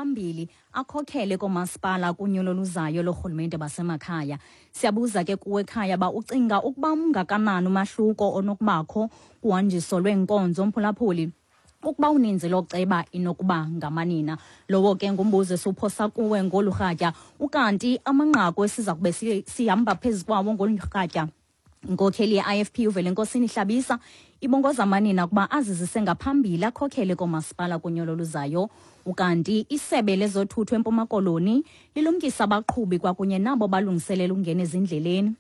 ngaphambili akhokhele koomasipala kunyulo oluzayo loorhulumente basemakhaya. Siyabuza ke kuwe ekhaya uba ucinga ukuba ungakanani umahluko onokubakho kuhanjiso lweenkonzo, mphulaphuli, ukuba uninzi loceba inokuba ngamanina. Lowo ke ngumbuzo esiwuphosa kuwe ngolu rhatya. Ukanti amanqaku esiza kube sihamba phezu kwawo ngolu rhatya: inkokheli ye-IFP uVelenkosini Hlabisa ibongoza amanina ukuba azizise ngaphambili akhokhele koomasipala kunyulo oluzayo. Ukanti isebe lezothutho eMpuma Koloni lilumkisa abaqhubi kwakunye nabo balungiselela ukungena ezindleleni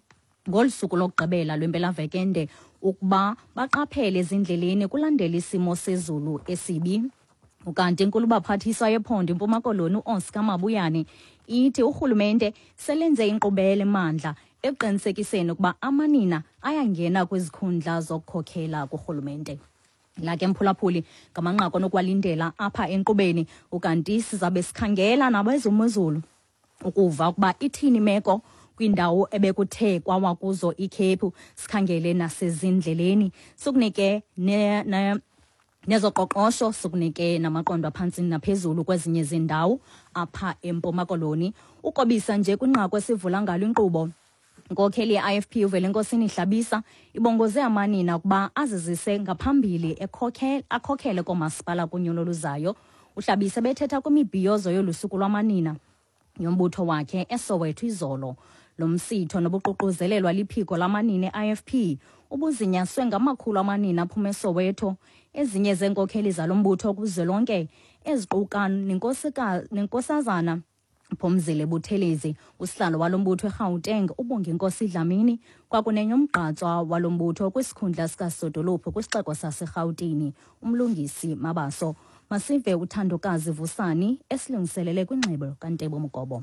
ngolu suku lokugqibela lwempelaveke ende ukuba baqaphele ezindleleni kulandela isimo sezulu esibi. Ukanti inkulubaphathiswa yephondo iMpuma Koloni uOscar Mabuyane ithi urhulumente selenze inkqubela emandla ekuqinisekiseni ukuba amanina ayangena kwizikhundla zokukhokhela kurhulumente. La ke, mphulaphuli, ngamanqaku onokuwalindela apha enkqubeni. Ukanti sizabe sikhangela nabezomozulu ukuva ukuba ithini imeko kwindawo ebekuthe kwawa kuzo ikhephu, sikhangele nasezindleleni, sikunike ne, ne nezoqoqosho, sikunike namaqondo aphantsi naphezulu kwezinye zindawo apha eMpuma Koloni. Ukobisa nje kwinqaku esivula ngalo inkqubo, inkokheli ye-IFP uVelenkosini Hlabisa ibongoze amanina ukuba azizise ngaphambili akhokhele koomasipala kunyulo oluzayo. UHlabisa bethetha kwimibhiyozo yolu suku lwamanina yombutho wakhe eSoweto izolo. Lo msitho nobuququzelelwa liphiko lamanina e-IFP ubuzinyaswe ngamakhulu amanina aphuma eSoweto. Ezinye zeenkokheli zalo mbutho kuzwelonke eziquka nenkosazana Phumzile Buthelezi, usihlalo walo mbutho eGauteng uBonginkosi Dlamini, kwakunye nomgqatswa walo mbutho kwisikhundla sikasodolophu kwisixeko saseRhawutini uMlungisi Mabaso. Masive uThandokazi Vusani esilungiselele kwingxelo kaNtebo Mgobo.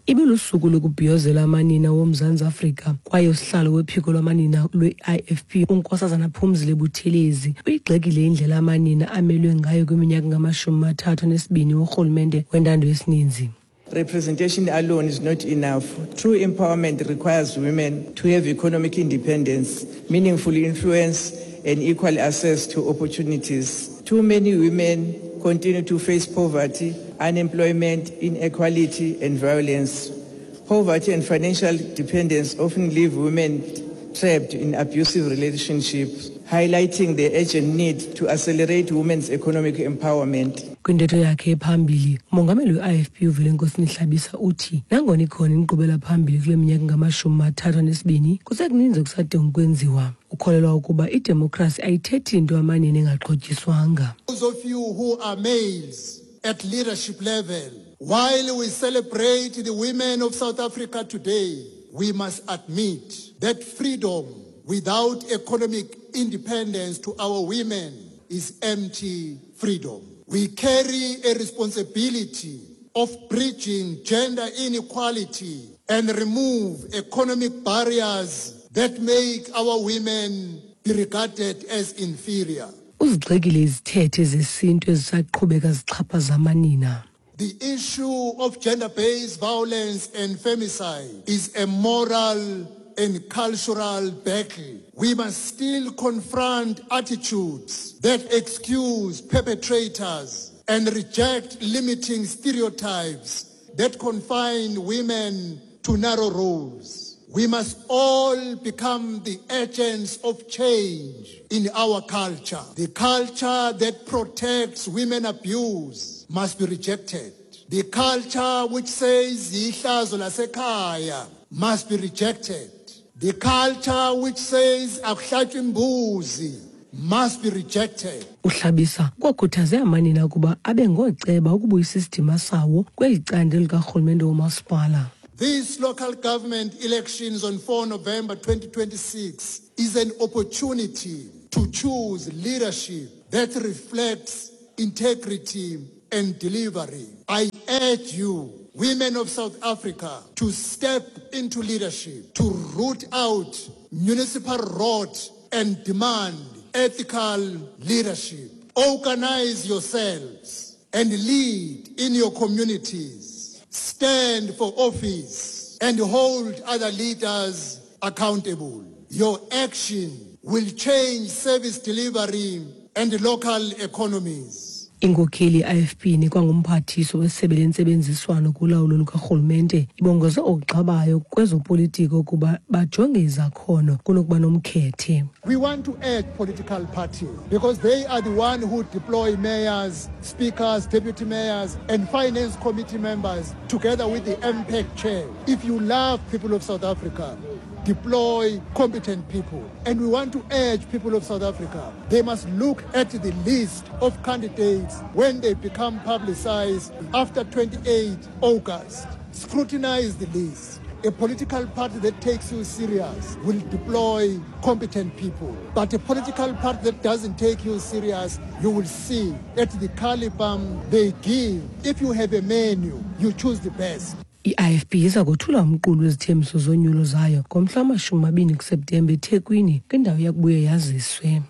Ibilusuku lokubhiyozela amanina woMzantsi Afrika, kwaye usihlalo wephiko lwamanina lwe-IFP uNkosazana Phumzile Buthelezi uyigxekile indlela amanina amelwe ngayo kwiminyaka ngama-32 worhulumente wentando yesininzi. Representation alone is not enough. True empowerment requires women to have economic independence, meaningful influence, and equal access to opportunities. Too many women continue to face poverty, unemployment, inequality, and violence. Poverty and financial dependence often leave women trapped in abusive relationships, highlighting the urgent need to accelerate women's economic empowerment. Kwintetho yakhe ephambili, umongameli we-IFP uVelenkosini Hlabisa uthi nangona ikhona inkqubela phambili kule minyaka ngama-32, kusekuninzi okusadinga ukwenziwa. Ukholelwa ukuba idemokhrasi ayithethi nto amanina engaxhotyiswanga. Those of you who are males at leadership level, while we celebrate the women of South Africa today, we must admit that freedom without economic independence to our women is empty freedom. We carry a responsibility of bridging gender inequality and remove economic barriers that make our women be regarded as inferior. Uzigxekile izithethe zesintu ezisaqhubeka zixhaphaza amanina. The issue of gender-based violence and femicide is a moral and cultural battle. We must still confront attitudes that excuse perpetrators and reject limiting stereotypes that confine women to narrow roles. We must all become the agents of change in our culture. The culture that protects women abuse must be rejected. The culture which says ihlazo lasekhaya must be rejected. The culture which says akuhlatshwa imbuzi must be rejected. UHlabisa kwakhuthaze amanina ukuba abe ngooceba ukubuyisa isidima sawo kweli candelo likarhulumente womasipala. These local government elections on 4 November 2026 is an opportunity to choose leadership that reflects integrity and delivery. I urge you, women of South Africa, to step into leadership, to root out municipal rot and demand ethical leadership. Organize yourselves and lead in your communities. Stand for office and hold other leaders accountable. Your action will change service delivery and local economies. Inkokheli ye-IFP nekwangumphathiswa wesebe lentsebenziswano kulawulo lukarhulumente ibongoze oogxa kwezopolitiko ukuba bajonge izakhono kunokuba nomkhethe. We want to add political parties because they are the one who deploy mayors, speakers, deputy mayors, and finance committee members together with the MPEC chair. If you love people of South Africa, deploy competent people. And we want to urge people of South Africa, they must look at the list of candidates when they become publicized after 28 August. Scrutinize the list. A political party that takes you serious will deploy competent people. But a political party that doesn't take you serious, you will see at the caliber they give. If you have a menu, you choose the best. I-IFP iza kothula umqulu wezithembiso zonyulo zayo ngomhla wama-20 kuSeptemba eThekwini, kwindawo yakubuye yaziswe.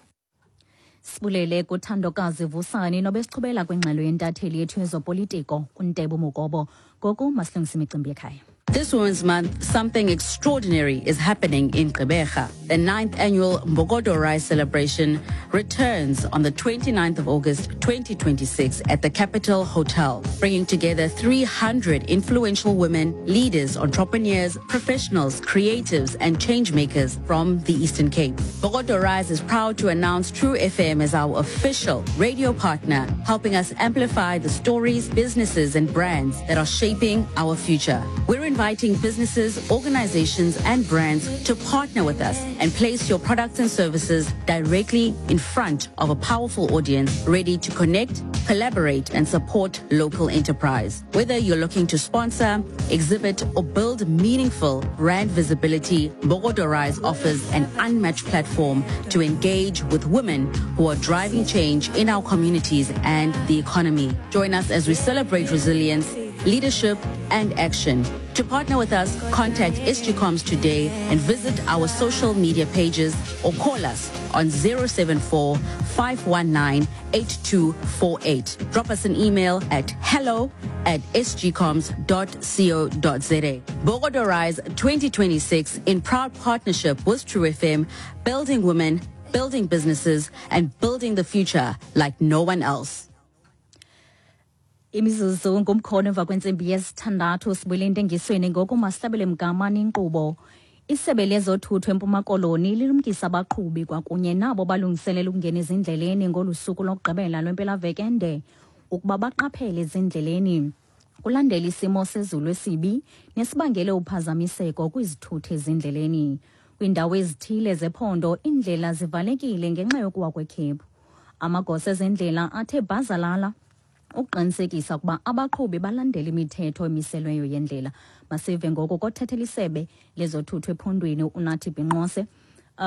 Sibulele kuthandokazi Vusani nobesichubela kwingxelo yentatheli yethu yezopolitiko uNtebo Mukobo. Ngoku masilungise imicimbi yekhaya. This Women's Month, something extraordinary is happening in Gqeberha. The 9th annual Mbokodo Rise celebration returns on the 29th of August 2026 at the Capital Hotel, bringing together 300 influential women, leaders, entrepreneurs, professionals, creatives, and changemakers from the Eastern Cape. Mbokodo Rise is proud to announce True FM as our official radio partner, helping us amplify the stories, businesses, and brands that are shaping our future. We're inviting businesses, organizations, and brands to partner with us and place your products and services directly in front of a powerful audience ready to connect, collaborate, and support local enterprise. Whether you're looking to sponsor, exhibit, or build meaningful brand visibility, Mbokodo Rise offers an unmatched platform to engage with women who are driving change in our communities and the economy. Join us as we celebrate resilience, leadership, and action. To partner with us, contact SGComs today and visit our social media pages or call us on 074 519 8248. Drop us an email at hello@sgcoms.co.za. Mbokodo Rise 2026 in proud partnership with True FM, building women, building businesses, and building the future like no one else. Imizuzu ngumkhono emva kwentsimbi yesithandathu, sibuyele entengisweni. Ngoku masihlabele mgama inkqubo. Isebe lezothutho eMpuma Koloni lilumkisa abaqhubi kwakunye nabo balungiselela ukungena ezindleleni ngolu suku lokugqibela lwempelaveki ende ukuba baqaphele ezindleleni kulandela isimo sezulu esibi nesibangele uphazamiseko kwizithuthi ezindleleni. Kwiindawo ezithile zephondo iindlela zivalekile ngenxa yokuwa kwekhephu. Amagosa ezendlela athe bhazalala ukuqinisekisa ukuba abaqhubi balandela imithetho emiselweyo yendlela. Masive ngoku kothethela isebe lezothutho ephondweni, uNathi Binqose.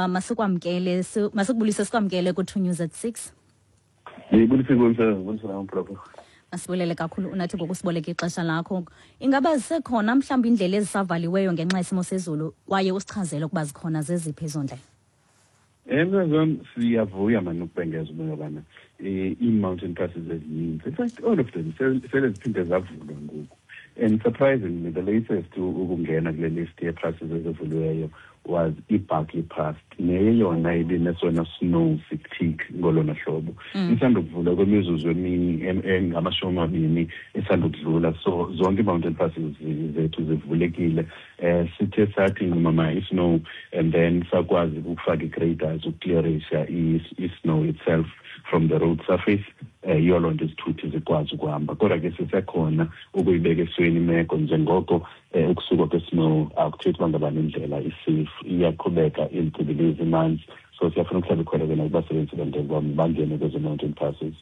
Masikwamkele, masikubulise, sikwamkele ku-2 News at 6. Ndibulise kumsebenzi, ndibulise namphulaphula. Masibulele kakhulu, uNathi, ngokusiboleka ixesha lakho. Ingaba zisekhona mhlawumbi iindlela ezisavaliweyo ngenxa yesimo sezulu, kwaye usichazele ukuba zikhona, zeziphi ezo ndlela? Mzazi wam, siyavuya mani ukubhengeza uba ngabana ii-mountain passes ezininzi, in fact all of them, sele ziphinde zavulwa ngoku. And surprisingly, the latest ukungena kule list yee-passes ezivuliweyo was iBarkley Pass, neyeyona ibinesona snow thick ngolona hlobo. Isandokuvula kwemizuzu engama-20 esandokudlula. So zonke ii-mountain passes zethu zivulekile. Sithe sathi nqumama i-snow and then sakwazi ukufaka ii-graders ukuclearisha i-snow itself from the road surface. Yiyo loo nto izithuthi zikwazi ukuhamba, kodwa ke sisekhona ukuyibeka esweni imeko, njengoko ukusuka kwe-snow akuthethi uba ngabana indlela i-safe, iyaqhubeka izincibilizi imanzi. So siyafuna ukuhlala ikhwelo ke nakubasebenzisi bendlela uba bangene kwezo mountain passes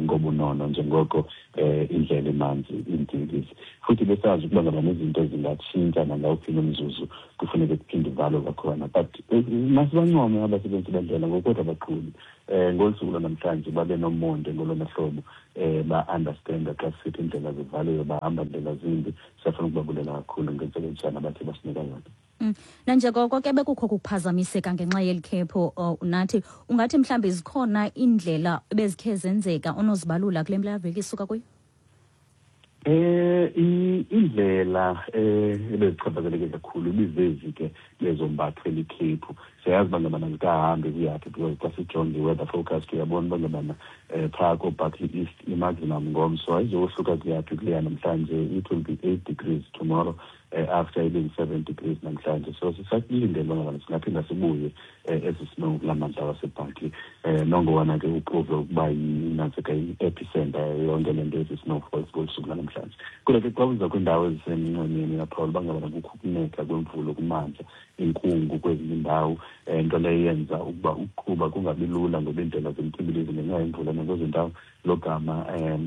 ngobunono, njengoko indlela imanzi iintsibilizi, futhi besazi ukuba ngaba nezinto zingatshintsha nangawuphi umzuzu, kufuneke kuphinde ivalwe kwakhona. But masibancome abasebenzi bendlela ngokodwa abaqhubi ngolu suku lwanamhlanje, babe nomonde ngolona hlobo, ba-understanda xa sisithi iindlela zivaliwe, bahamba ndlela zimbi. Siyafuna ukubabulela kakhulu ngentsebenziswano abathe basinika yona. Nanjengoko ke bekukho kuphazamiseka ngenxa yeli khephu, uNathi, ungathi mhlawumbi zikhona iindlela ebezikhe zenzeka onozibalula kule mpelaveki isuka kuyo? Indlela ebezichaphazeleke kakhulu ibizezi ke bezombathwe likhephu. Siyayazi uba ngabana zikahambi kuyaphi, because xa sijonge i-weather forecast uyabona uba ngabana phaa kooBarkly East i-maximum ngomso ayizohluka kuyaphi kuleya namhlanje. It will be 8 degrees tomorrow, after ibeing 7 degrees namhlanje. So sisakulindele uba ngabana singaphinda sibuye ezi snow kulaa mandla waseBarkly, nongowana ke uprove ukuba yinantsika i-epicenter yonke le nto ezi snowfalls ngolu suku lanamhlanje. Kodwa ke xa uza kwiindawo ezisenxwemeni, uyaphawula uba ngabana kukho ukunetha kwemvula kumandla, inkungu kwezinye iindawo, nto leyo yenza ukuba ukuqhuba kungabi lula ngoba iindlela zimtyibilizi ngenxa yemvula nakwezo ndawo, logama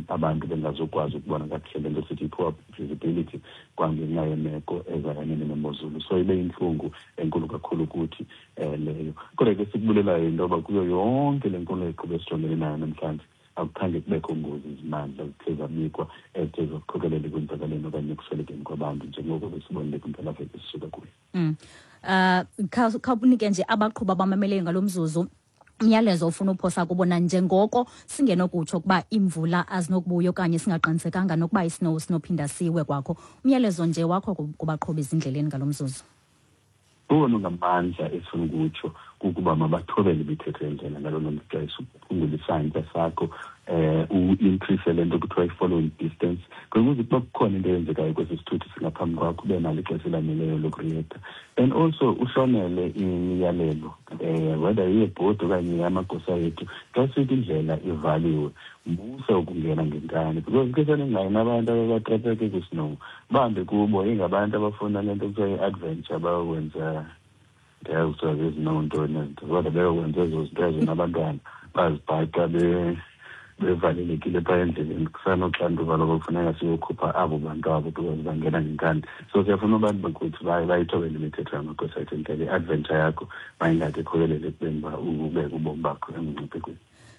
abantu bengazokwazi ukubona kakuhle, le nto sithi i-poor visibility, kwangenxa yemeko ezayanene nemozulu. So ibe yintlungu enkulu kakhulu kuthi leyo. Kodwa ke sikubulelayo yinto yoba kuyo yonke le nkulu eqhube esijongene nayo namhlanje, akukhange kubekho ngozi zimandla zithe zabikwa ezithe zakukhokelela ekwenzakaleni okanye ekuswelekeni kwabantu njengoko besibonile kwimpelaveki esisuka kuyo. Khawunike nje abaqhubi abamameleyo ngalo mzuzu umyalezo ofuna uphosa kubo, nanjengoko singenokutsho ukuba imvula azinokubuya okanye singaqinisekanga nokuba isnow sinophinda siwe kwakho. Umyalezo nje wakho kubaqhubi ezindleleni ngalo mzuzu. Owona ngamandla esifuna ukutsho kukuba mabathobele imithetho yendlela ngalo lonke ixesha, uphungule isantya sakho, u-increase le nto kuthiwa i-following distance, ukuze ukuba kukhona into eyenzekayo kwesi sithuthi singaphambi kwakho, ube nalo ixesha elaneleyo lokureacta, and also uhlonele imiyalelo, whether iyebhodi okanye yamagosa ethu. Xa sithi indlela ivaliwe, musa ukungena ngenkani, because ke seningayini abantu ababatrapeke kwisnow, bambi kubo ingabantu abafuna le nto kuthiwa i-adventure, bayokwenza, ndiyazi kuthiwa zezinoontoni ezinto, kodwa beyokwenza ezo zinto ezo nabantwana bazibhaqa bevalelekile phaa endleleni. Kusanoxanduva loba kufuneka siyokhupha abo bantu abo because bangena ngenkani. So siyafuna abantu bakuthi bayithobele imithetho yamagosa ethu endlela. I-adventure yakho mayingade ikhokelele ekubeni uba ubeke ubomi bakho emngciphekweni.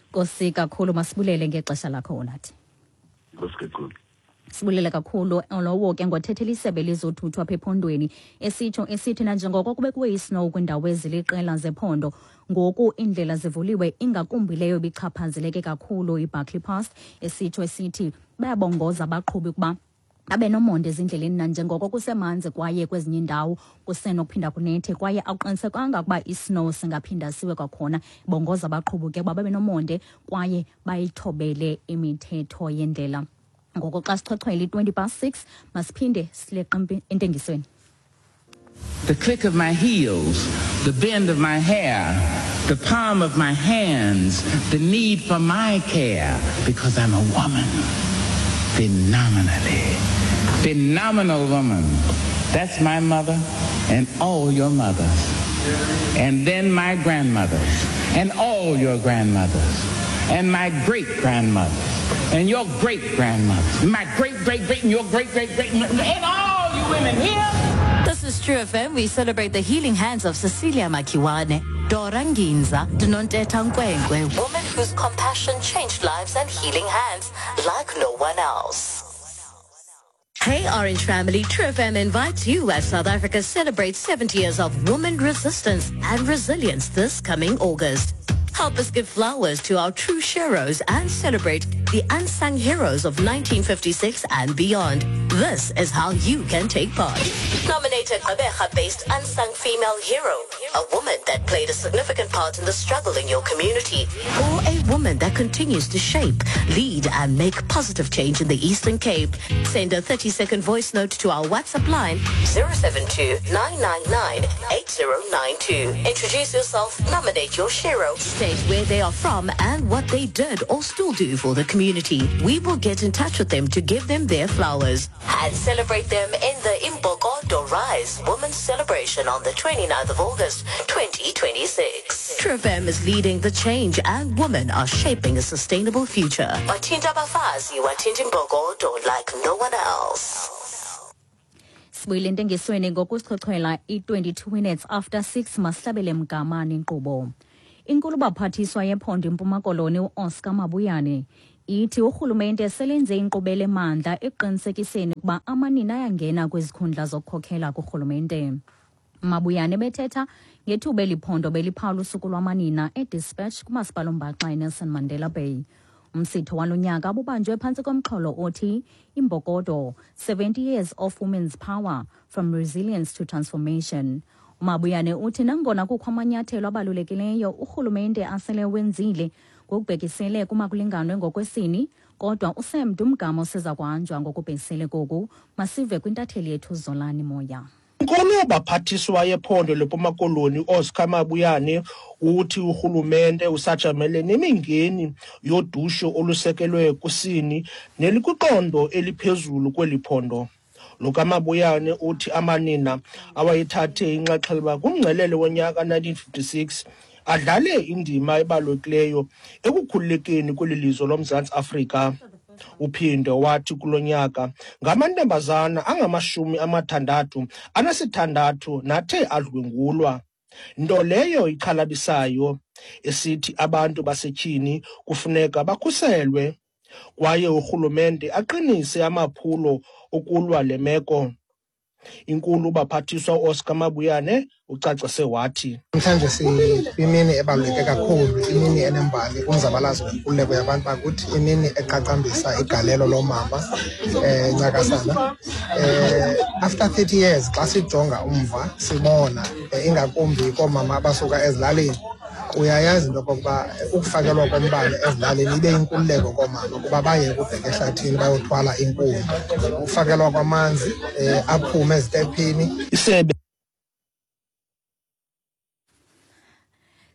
Nkosi kakhulu, masibulele ngexesha lakho unathi. Nkosi kakhulu. Sibulele kakhulu. Lowo ke ngothethela isebe lezothutho apha ephondweni, esitsho esithi nanjengoko kube kuwe isnow kwiindawo eziliqela zephondo, ngoku iindlela zivuliwe, ingakumbi leyo ibichaphazeleke kakhulu, iBarkly Pass. Esitsho esithi bayabongoza abaqhubi ukuba abe nomonde ezindleleni nanjengoko kusemanzi kwaye kwezinye iindawo kusenokuphinda kunethe, kwaye akuqinisekanga ukuba isnow singaphinda siwe kwakhona. Bongoza abaqhubi ke ukuba babe nomonde kwaye bayithobele imithetho yendlela. Ngoko xa sichwechwele i-6:20, masiphinde sileqe entengisweni. The click of my heels, the bend of my hair, the palm of my hands, the need for my care, because I'm a woman. Phenomenally. Phenomenal woman. That's my mother and all your mothers. And then my grandmothers and all your grandmothers. And my great grandmothers and your great grandmothers. My great great great and your great great great and all you women here. This is True FM. We celebrate the healing hands of Cecilia Makiwane, Dora Nginza, Nontetha Nkwenkwe, women whose compassion changed lives and healing hands like no one else. Hey Orange family, True FM invites you as South Africa celebrates 70 years of woman resistance and resilience this coming August. Help us give flowers to our true heroes and celebrate the unsung heroes of 1956 and beyond. This is how you can take part. Nominate a Gqeberha-based unsung female hero, a woman that played a significant part in the struggle in your community, or a woman that continues to shape, lead, and make positive change in the Eastern Cape. Send a 30-second voice note to our WhatsApp line 072 999 8092. Introduce yourself, nominate your hero, state where they are from and what they did or still do for the community. We will get in touch with them to give them their flowers and celebrate them in the Imbokodo Rise Women's Celebration on the 29th of August 2026. True FM is leading the change and women are shaping a sustainable future. Wathinta abafazi, wathinta imbokodo like no one else. Sibuyile entengisweni ngokusichochwela i-22 minutes after 6. Masihlabele mgama inkqubo. Inkulu baphathiswa yephondo iMpuma Koloni uOscar Mabuyane ithi urhulumente selenze inkqubela emandla ekuqinisekiseni ukuba amanina ayangena kwizikhundla zokukhokhela kurhulumente. Mabuyane bethetha ngethuba eli phondo beliphawula usuku lwamanina eDispatch kumasipala ombaxa eNelson Mandela Bay. Umsitho walo nyaka ububanjwe phantsi komxholo othi "Imbokodo 70 Years of Women's Power: From Resilience to Transformation". UMabuyane uthi nangona kukho amanyathelo abalulekileyo urhulumente asele wenzile ngokubhekisele kumakulinganwe ngokwesini, kodwa usemde umgama oseza kuhanjwa ngokubhekisele koku. Masive kwintatheli yethu Zolani Moya. Inkulu baphathiswa yephondo leMpuma Koloni uOscar Mabuyane uthi urhulumente usajamele nemingeni yodushe olusekelwe kusini nelikwiqondo eliphezulu kweli phondo. Lo kaMabuyane uthi amanina awayethathe inxaxheba kumngcelele wonyaka 1956 adlale indima ebalulekileyo ekukhululekeni kweli lizwe loMzantsi Afrika. Uphinde wathi kulo nyaka ngamantombazana angama-66 nathe adlwengulwa, nto leyo ixhalabisayo, esithi abantu basetyhini kufuneka bakhuselwe kwaye urhulumente aqinise amaphulo okulwa le meko. Inkulu baphathiswa uOscar Mabuyane ucacise wathi, Namhlanje sikwimini ebaluleke kakhulu, imini enembali kumzabalazo wenkululeko yabantu bakuthi, imini eqaqambisa igalelo loomama ncakasana. After 30 years xa sijonga umva sibona ingakumbi koomama abasuka ezilalini, uyayazi into okokuba ukufakelwa kombane ezilalini ibe yinkululeko koomama kuba baye ukubheka ehlathini bayothwala iinkuni, ukufakelwa kwamanzi aphume ezitephini. Isebe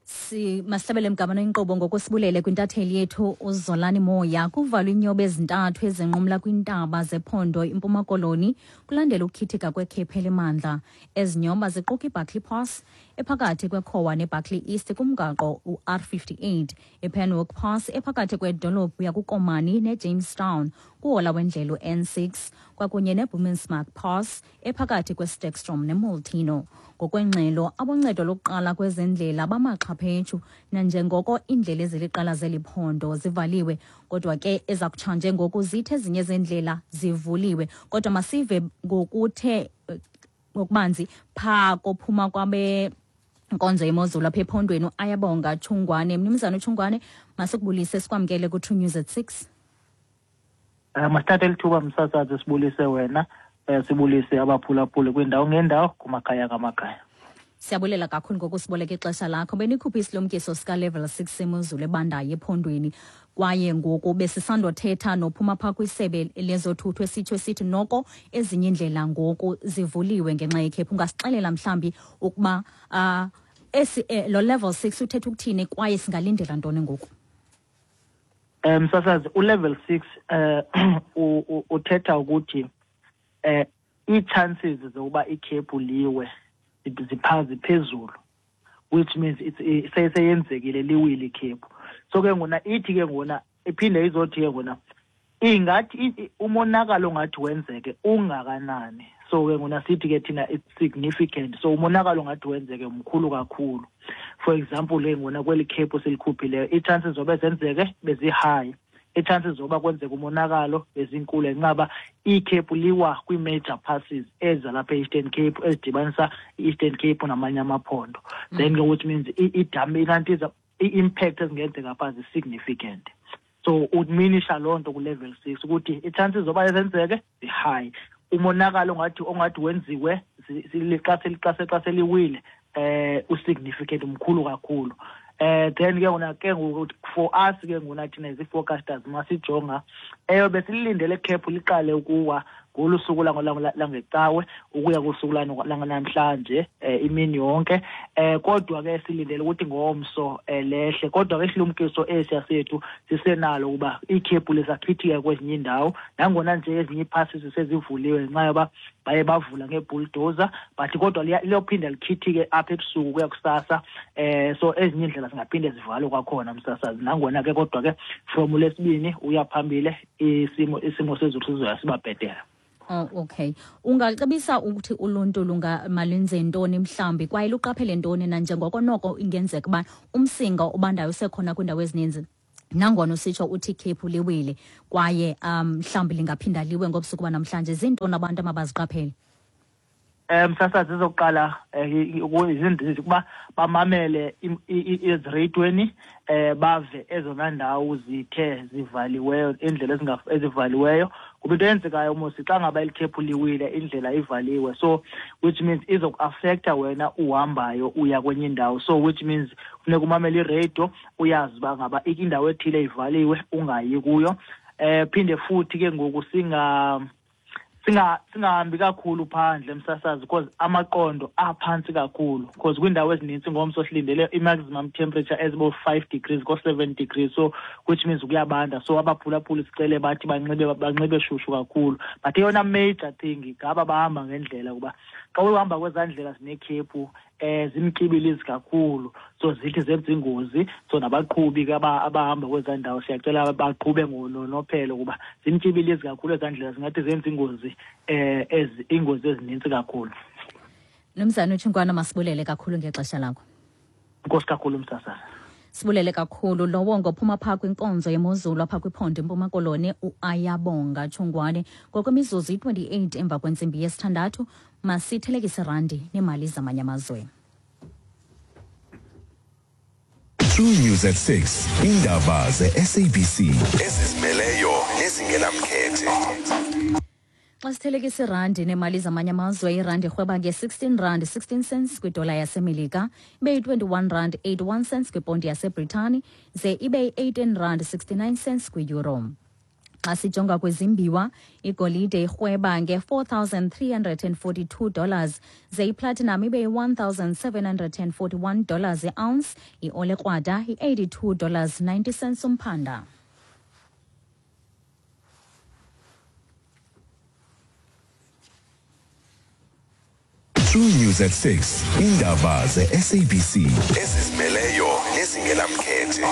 Si masihlabele mgama inkqubo ngokusibulele kwintatheli yethu uZolani Moya. Kuvalwe inyoba ezintathu ezinqumla kwintaba zephondo iMpuma Koloni kulandela ukukhithika kwekhephu elimandla. Ezi nyoba ziquka iBarkley Pass ephakathi kweKhowa neBarkley East kumgaqo u-R58, iPenwick Pass ephakathi kwedolophu yakuKomani neJamestown kuhola wendlela u-N6, kwakunye neBoomsmark Pass ephakathi kweSterkstroom neMolteno. Ngokwengxelo, aboncedo lokuqala kwezendlela bamaxhaphetshu nanjengoko iindlela eziliqela zeli phondo zivaliwe, kodwa ke ezakutshanje ngoku zithi ezinye zeendlela zivuliwe. Kodwa masive ngokuthe ngokubanzi phaa kophuma kwabe nkonzo yemozulu apha ephondweni Ayabonga Tshungwane. Mnumzana uTshungwane, masikubulise sikwamkele ku-True News at 6. Masithathe lithuba msasazi sibulise wena, sibulise abaphulaphuli kwiindawo ngeendawo kumakhaya ngamakhaya. Siyabulela kakhulu ngokusiboleka ixesha lakho. Benikhuphe isilumkiso sika level 6 semozulu ebandayo ephondweni, kwaye ngoku besisandothetha nophuma phaa kwisebe lezothutho esitsho esithi noko ezinye iindlela ngoku zivuliwe ngenxa yekhephu. Ungasixelela mhlawumbi ukuba esi lo level 6 uthetha ukuthini kwaye singalindela ntoni ngoku? Msasazi, ulevel 6 uthetha ukuthi ii-chances zokuba ikhephu liwe ziphezulu, which means seyenzekile liwile ikhephu. So ke ngona ithi ke ngona iphinde izothi ke ngona ingathi umonakalo ongathi wenzeke ungakanani. So ke ngona sithi ke thina it's significant, so umonakalo ongathi wenzeke mkhulu kakhulu. For example ke ngona kweli khephu silikhuphileyo ii-chances zoba zenzeke bezi-high, ii-chances zoba kwenzeka umonakalo bezinkulu ngenxa ikhephu liwa kwii-major passes ezalapha e-Eastern Cape ezidibanisa i-Eastern Cape namanye amaphondo. Then ke which means idam inantiza i-impact ezingenzeka phaa zi-significant. So uminisha loo nto ku-level 6 ukuthi ii-chances zoba zenzeke zi-high, umonakalo ongathi wenziwe xa seliwile usignificant, mkhulu kakhulu. Then ke ngona ke ngoku for us ke ngona thina as i-forecasters masijonga eyo besilindele khephu liqale ukuwa ngolu suku langecawe ukuya kusuku lanamhlanje imini yonke, kodwa ke silindele ukuthi ngomso lehle. Kodwa ke isilumkiso esiya sethu sisenalo ukuba ikhephu lisakhithika kwezinye iindawo, nangona nje ezinye ii-passes sezivuliwe ngenxa yoba baye bavula ngebulldozer, but kodwa liyophinda likhithike apha ebusuku kuya kusasa. So ezinye iindlela zingaphinde zivalwe kwakhona msasazi, nangona ke kodwa ke from uLwesibini uya phambili isimo sezulu sizoya siba bhetele. Oh, okay. Ungacebisa ukuthi uluntu malenze ntoni mhlawumbi kwaye luqaphele ntoni nanjengoko noko ingenzeka uba umsinga obandayo usekhona kwiindawo ezininzi, nangona usitsho uthi ikhephu liwile kwaye mhlawumbi lingaphinda liwe ngobusuku banamhlanje, zintoni abantu amabaziqaphele? Msasazi, ezokuqala izinto ukuba bamamele ezireyidweni, bave ezona ndawo zithe zivaliweyo, iindlela ezivaliweyo, kuba into eyenzekayo mos xa ngaba eli khephu liwile, indlela ivaliwe, so which means izokuafektha wena uhambayo uya kwenye indawo. So which means funeka umamele ireyido, uyazi uba ngaba indawo ethile ivaliwe, ungayi kuyo. Phinde futhi ke ngoku singahambi kakhulu phandle, msasazi, because amaqondo aphantsi kakhulu, because kwiindawo ezinintsi ngomso silindele i-maximum temperature ezibo-5 degrees ko-7 degrees, so which means kuyabanda. So abaphulaphuli sicele bathi banxibe shushu kakhulu. But eyona major thing ngaba bahamba ngendlela, kuba xa uhamba kwezaa ndlela zinekhephu zimtyibilizi kakhulu, so zithi zenza ingozi. So nabaqhubi ke abahamba kwezaa ndawo siyacela baqhube ngononophelo, kuba zimtyibilizi kakhulu ezaa ndlela, zingathi zenza ingozi iingozi ezinintsi kakhulu. Mnumzana uTshingwana, masibulele kakhulu ngexesha lakho. Enkosi kakhulu, msasazi. Sibulele kakhulu. Lowo ngophuma phaa kwinkonzo yemozulu apha kwiphondo eMpuma Koloni, uAyabonga Tshungwane. Ngokwemizuzu i-28 emva kwentsimbi yesithandathu, masithelekise randi neemali zamanye amazwe. True News at 6, indaba ze-SABC ezizimeleyo nezingenamkhethe. Xa sithelekisa irandi neemali zamanye amazwe, irandi irhweba nge-16 rand 16 cents kwidola yaseMelika, ibe yi-21 rand 81 cents kwiponti yaseBritani, ze ibe yi-18 rand 69 cents kwi-euro. Xa sijonga kwezimbiwa, igolide irhweba nge-$4,342, ze iplatinum ibe yi-$1,741 i-ounce, iole krwada i-$82 90 cents umphanda. True News at 6, indaba ze-SABC ezizimeleyo nezingenamkhethe.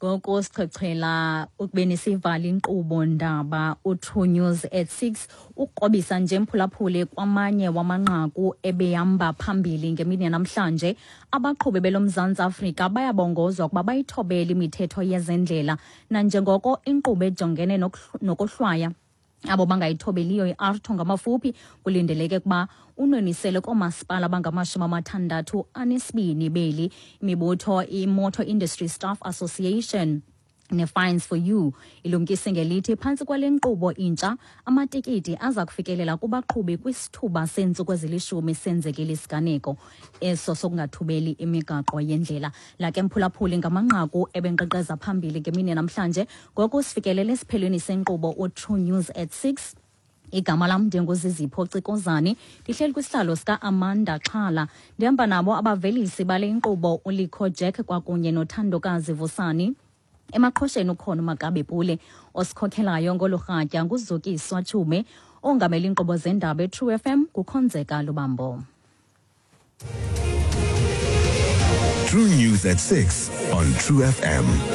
Ngoku sichwechwela ukubeni sivale inkqubo ndaba uTrue News at 6, ukrobisa nje mphulaphuli kwamanye wamanqaku ebehamba phambili ngemini yanamhlanje. Abaqhubi beloMzantsi Afrika bayabongozwa ukuba bayithobele imithetho yezendlela, nanjengoko inkqubo ejongene nokohlwaya abo bangayithobeliyo, i-AARTO ngamafuphi, kulindeleke ukuba unwenisele koomasipala abangama-62 beli. Imibutho i-Motor Industry Staff Association ne-Fines for You ilumkise ngelithi phantsi kwale nkqubo intsha, amatikiti aza kufikelela kubaqhubi kwisithuba seentsuku ezilishumi senzekile isiganeko eso sokungathobeli imigaqo yendlela. La ke mphulaphuli, ngamanqaku ebenkqenkqeza phambili ngemini namhlanje. Ngoku sifikelele esiphelweni senkqubo uTrue News at 6. Igama lam ndinguZizipho Cikozane, ndihleli kwisihlalo sika-Amanda Xhala. Ndihamba nabo abavelisi bale nkqubo, uLikho Jack kwakunye noThandokazi Vusani. Emaqhosheni ukhona uMakabe Pule. Osikhokhelayo ngolu rhatya nguZukiswa Tshume. Ongamela iinkqubo zendaba eTrue FM kukhonzeka Lubambo. True News at 6 on True FM.